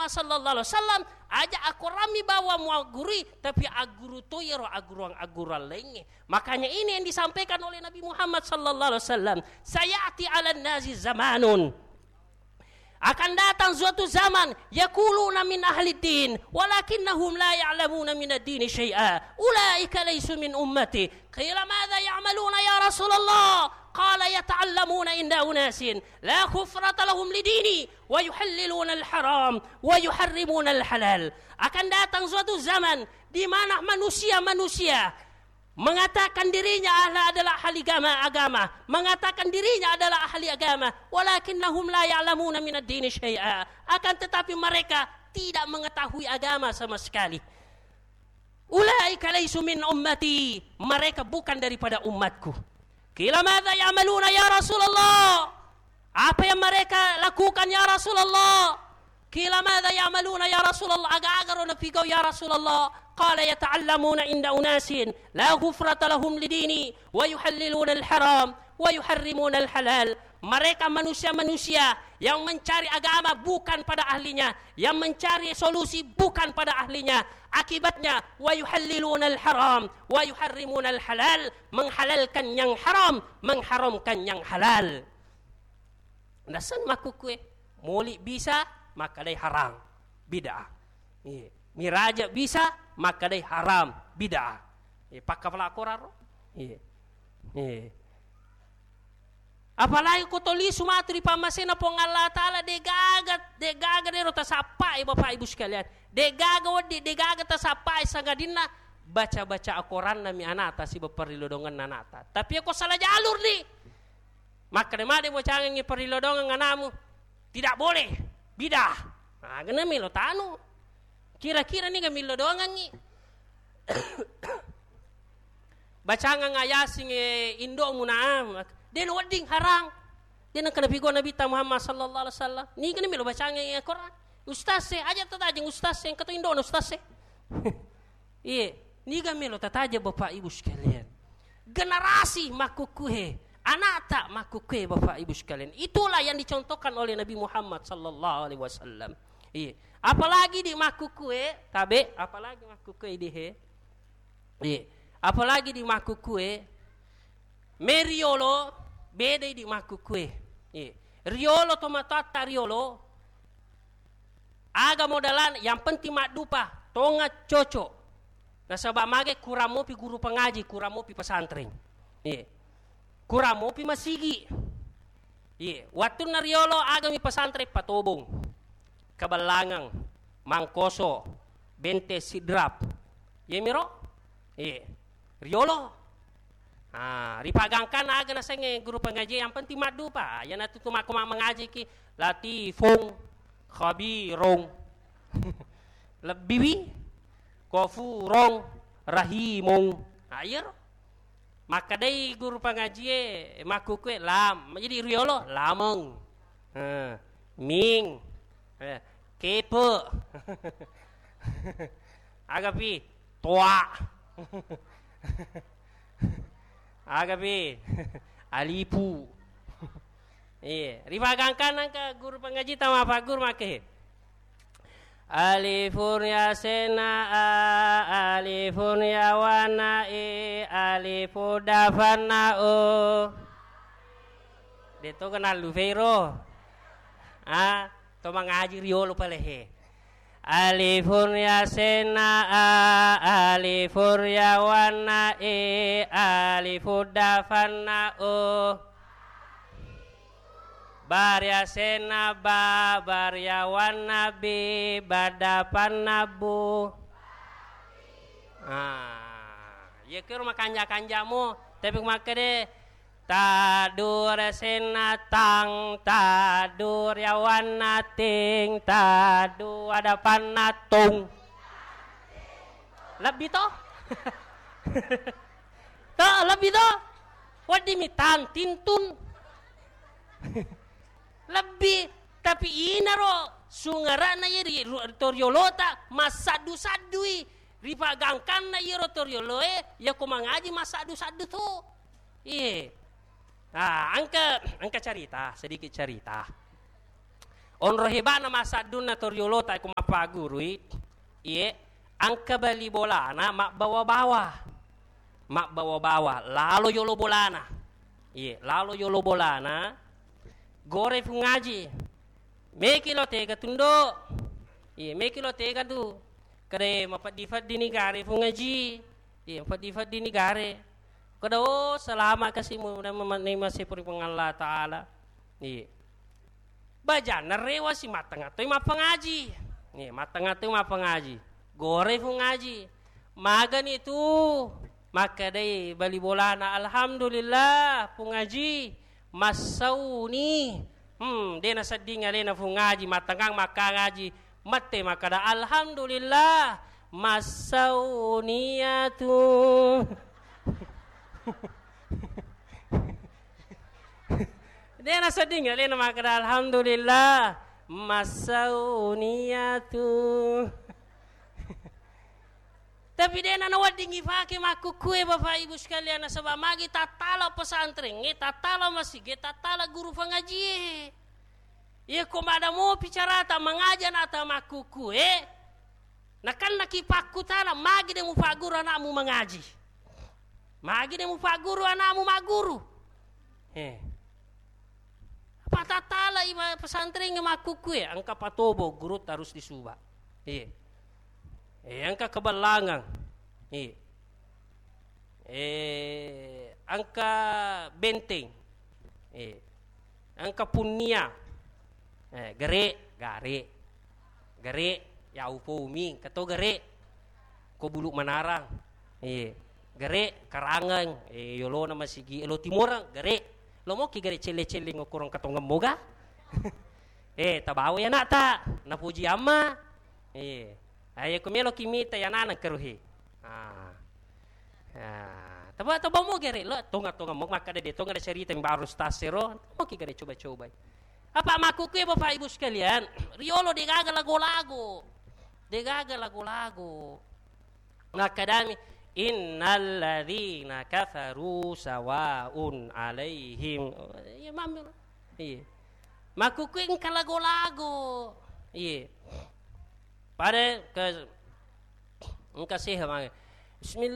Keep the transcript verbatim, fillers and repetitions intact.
sallallahu alaihi wasallam, aja akorammi bawang muaggurui, tapi agguru to iyaro agguruang-agguruang laingnge. Makanya ini yang disampaikan oleh Nabi Muhammad sallallahu alaihi wasallam, "Sayati 'alan nasi zamanun." Akan datang suatu zaman, yaquluna min ahli din, walakinnahum la ya'lamuna minad dini syai'a. Ulaika laisu min ummati. Qila madza ya'maluna ya Rasulullah? Qala yata'allamuna inda unasin la khufrata lahum lidini wa yuhalliluna al-haram wa yuharrimuna al-halal. Akan datang suatu zaman di mana manusia-manusia mengatakan dirinya ahla-, adalah ahli agama, agama, mengatakan dirinya adalah ahli agama, walakinnahum la ya'lamuna minad dini syai'a. Akan tetapi mereka tidak mengetahui agama sama sekali. Ulaika laisu min ummati, mereka bukan daripada umatku. Qila madza ya'maluna ya Rasulullah? Apa yang mereka lakukan ya Rasulullah? Qila madza ya'maluna ya Rasulullah? Aga-aga ro napigau ya Rasulullah? Qala yata'allamuna inda unasin la ghufrata lahum lidini wa yuhalliluna al-haram wa yuharrimuna al-halal. Mereka manusia-manusia yang mencari agama bukan pada ahlinya, yang mencari solusi bukan pada ahlinya. Akibatnya, wa yuhalliluna al-haram wa yuharrimuna al-halal, menghalalkan yang haram, mengharamkan yang halal. Nasenna makkukkue, moli bisa makkedai haram, bid'ah. Iya. Miraja bisa makkedai haram, bid'ah. Iya, pakkapala koraro. Iya. Iya. Apalagi ko toli sumatu ri pammasena Puang Allah Taala, degaga, degaga dero tasappai, Bapak Ibu sekalian. Degaga wedding, degaga tasappai sangadinna baca-baca akoranna mi anata siba parrilodongenna anata. Tapi ko salah jalur ni, makkeda made bocangengngi parrilodongeng anamu, tidak boleh, bidah. Nah, gena melo tanu. Kira-kira niga millo dongangngi. Bacangang ayasingnge indo'mu na, de' nawedding harang. De' nengka napigau Nabitta Muhammad sallallahu alaihi wasallam. Niga na melo bacangang Quran. Ustaz e, aja tatajeng ustaz e, engka to indo'na ustaz e. Iye, niga melo tatajeng Bapak Ibu sekalian. Generasi makkukkuhe, anakta makkukkuhe Bapak Ibu sekalian. Itulah yang dicontohkan oleh Nabi Muhammad sallallahu alaihi wasallam. Iye. Apalagi di makkukkue, tabe, apalagi makkukkue di he. Iye. Apalagi di makkukkue, me riolo, beda di makkukkue. Iye. Riolo to matoatta riolo, aga modalana, yang penting maddupa, tonga cocok. Nasaba mage kurang mopi guru pangaji, kurang mopi pesantren. Iye. Kurang mopi masigi. Iye, wettunna riolo agami pesantren Patobong, Kabellangang, Mangkoso, Bente Sidrap. Iyemiro? Iye, riolo. Ah, ripagangkanna aga nasengnge guru pangaji, yang penting maddupa. Ah, iyanatu tu makko ma-, mangajiki, latifong, khabirong. Lebbiwi, kofurong, rahimong. Ah, iyaro. Makkedai guru pangajie, makkukkue lam. Jadi riolo, lameng. Eh, ming. Eh, kepe. Agapi, toa. Agapi, alipu. Iya, ripagangkanna engka guru pangaji tama fagguru makke. Alifun yasenna a, alifun yawanna i, alifun dafanna u. De' to kenal lu fero. A, to mangaji riolo palehe. Alifun yasenna a, alifun yawanna i, alifun dafanna u. Ba riasenna ba, ba riawanna bi, ba dapanna bu. Ah, iya kero makanja-kanjamo, tapi makkede taddu riasenna tang, taddu riawanna ting, taddu adapanna tung. Lebbi to? To, lebbi to? Wedding mi tang, tintun. Lebbi, tapi inaro sungara'na iya ri ru-, to riolota massaddu-saddui. Ripagangkanna iyaro to rioloe, yako mangaji massaddu-saddu to. Iye. Ah, engka, engka carita, sedikit carita. Onro heba'na massaddunna to riolota ko mappagurui, iye, engka bali bolana mabbawa-bawa. Mabbawa-bawa, lalo yolo bolana. Iye, lalo yolo bolana, gore Fung Aji. Meki lo tega tundo. Iye, meki lo tega tu. Kada mapeddi-feddini gare Fung Aji. Iye, mapeddi-feddini gare. Kada, oh, salama kasi mu, mudah menerima sepuri Puang Allah Ta'ala. Iye. Bajanna rewa si mattenga toi mappangaji. Iye, mattenga toi mappangaji. Gore Fung Aji. Magani tu makkedai bali bolana, "Alhamdulillah, Fung Aji, massauni." Hmm, de nasedding alena Fung Aji, mattengang makkangaji, mette makkeda, "Alhamdulillah, massauni atu." De nasedding alena makkeda, "Alhamdulillah, massauni atu." Tapi de na nawedding ifake makkukkue, Bapak Ibu sekalian, nasaba magi tattala pesantrengnge, tattala masige, tattala guru pangajie. Iya ko mada mopi carata mangaji anakta makkukkue, nakennaki pakkutana, magi de mupagguru anakmu mangaji? Magi de mupagguru anakmu magguru? Eh. Patattala i ma-, pesantrengnge makkukkue, engka Patobo, guru harus disuba. Iya. Eh, engka Kebalangang. Iya. Eh, engka Benteng. Iya. Engka Punnia. Eh, gere, gare. Gere, ya upomi, engka to gere. Ko Bulu Manarang. Iya. Gere, Karangeng, eh, yolona masigi, lo Timoreng, gere. Lo moki gere celle-celle ngokorong katongeng moga. Eh, tabawa ya anakta, napuji amma. Iya. Ayo ko meloki mita ya nanang keruhi. Ah. Ah, taba, taba mo gere lo, tonga-tonga mo makkada de tonga de cerita mi baru stasero, mo ki gere coba-coba. Apa makkukkue Bapak Ibu sekalian, riolo degaga lago-lago. Degaga lago-lago. Nakkadami, "Innal ladzina kafaru sawaun alaihim." Iya, mami. Iya. Makkukkue engka lago-lago. Iya. Pada ke engka seha mange. Bismillah.